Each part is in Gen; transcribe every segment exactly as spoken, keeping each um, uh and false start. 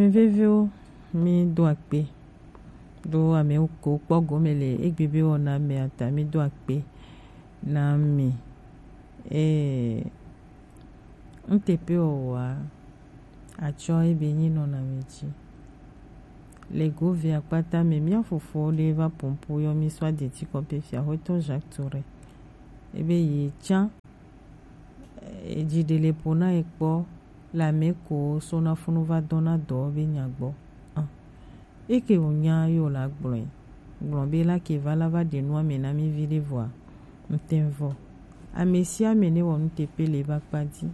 Mi veviwo, mi do akpe. Do ame ko kpɔ gome le egbe be wɔna mea ta, mi do akpe na mi. Ee, nuteƒewɔwɔa, atsɔ ebe nyi nɔna mi dzi. Le govea kpata me, mía fofo ɖe va pompo yɔ mi sɔ adeti kɔƒe fia xɔetɔ Jacques Touré. Ebe yi tsã, edzi ɖe le ƒo na ye kpɔ le ame ko so na funu va dɔna dɔ be nya gbɔ. Ah. Eke wònya ye wòle agblɔe. Gblɔ be la ke va la va ɖe nua me na mí viɖe vɔa, ŋtɛn vɔ. Ame sia ame ne wɔ nuteƒe le eƒe akpa dzi.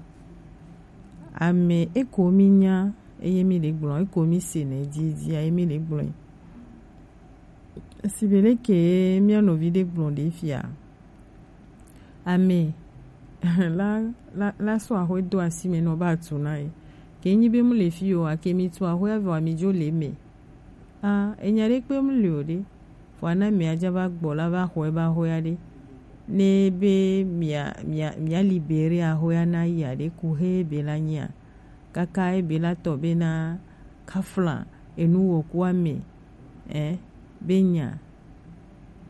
Ame eko mí nya eye mí le gblɔ, eko mí se nɛ dziedzia eye mí le gblɔe. Sigbe leke mía nɔvi ɖe gblɔ ɖe fia? Ame la, la, la sɔ axwe do asi me nɔ ba tu na ye. Ke nyi be mu le fi o, ake mi tu axwe vɔ mi dzo le me. Ah, enya ɖe kpe mu le o ɖe. Vɔ ana mia dza va gbɔ la va xɔe ba xɔe aɖe. Ne be mia, mia, mia libere axɔe na yi aɖe ku he be la nyia. Kaka ebe la tɔ be na kafla enu wɔku ame, eh, be nya,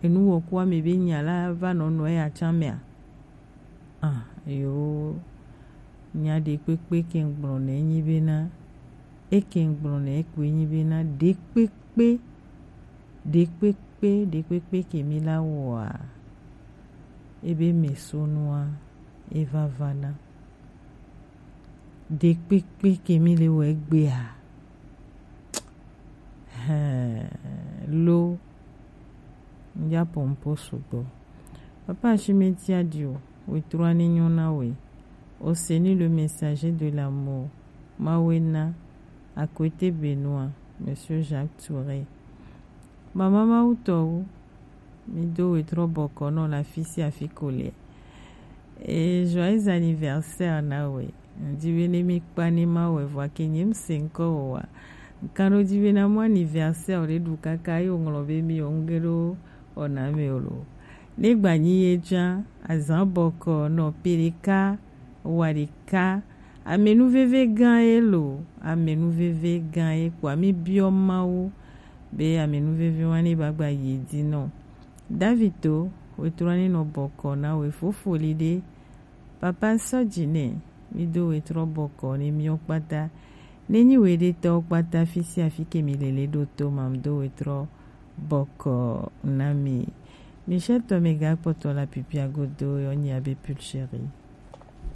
enu wɔku ame be nya la va nɔ nɔ eya tsã mea? Ah, yo, nya ɖe kpekpe ke ŋgblɔ nɛ nyi bena, eke ŋgblɔ nɛ ekpe nyi bena, ɖe kpekpe, ɖe kpekpe, ɖe kpekpe ke mi la wɔa, ebe me so nua, eva va na. Ɖekpekpe ke mi le wɔ egbea. Hɛn, lo, ŋdza pompo sugbɔ. Papa Ashimeti Adio, wetrua ni nyɔ na we. Oseni le messager de l'amour. Mawena, à côté Benoît, Monsieur Jacques Touré. Mama Mawutɔwo, mi do wetrɔ bɔkɔ nɔ la fi sia fi ko le. Et joyeux anniversaire na we. Ŋdi be ne mi kpa ne ma wɛ vɔ ke nye mse ŋkɔ o wa. Ŋkan ɖo dzi be na mo anniversaire ɖe ɖu kaka ye woŋlɔ be mi o ŋge ɖo wɔna me o lo. Ne gba nyi ye tsã, azã bɔkɔ nɔ pe ɖeka wa ɖeka. Amenuveve gã ye lo, amenuveve gã ye kpoa mi biɔ Mawu be amenuveve wa ne ba gba yi dzi nɔ. Davito, wetrɔ ne nɔ bɔkɔ na we fofo li ɖe. Papa sɔ dzi nɛ, mi do wetrɔ bɔkɔ ne miɔ kpata. Ne nyi we ɖe tɔ kpata fi sia fi ke mi le le ɖo to ma, mi do wetrɔ bɔkɔ na mi. Michel tɔ me ga kpɔtɔ la pipia godo yɔ nyi abe pulchérie.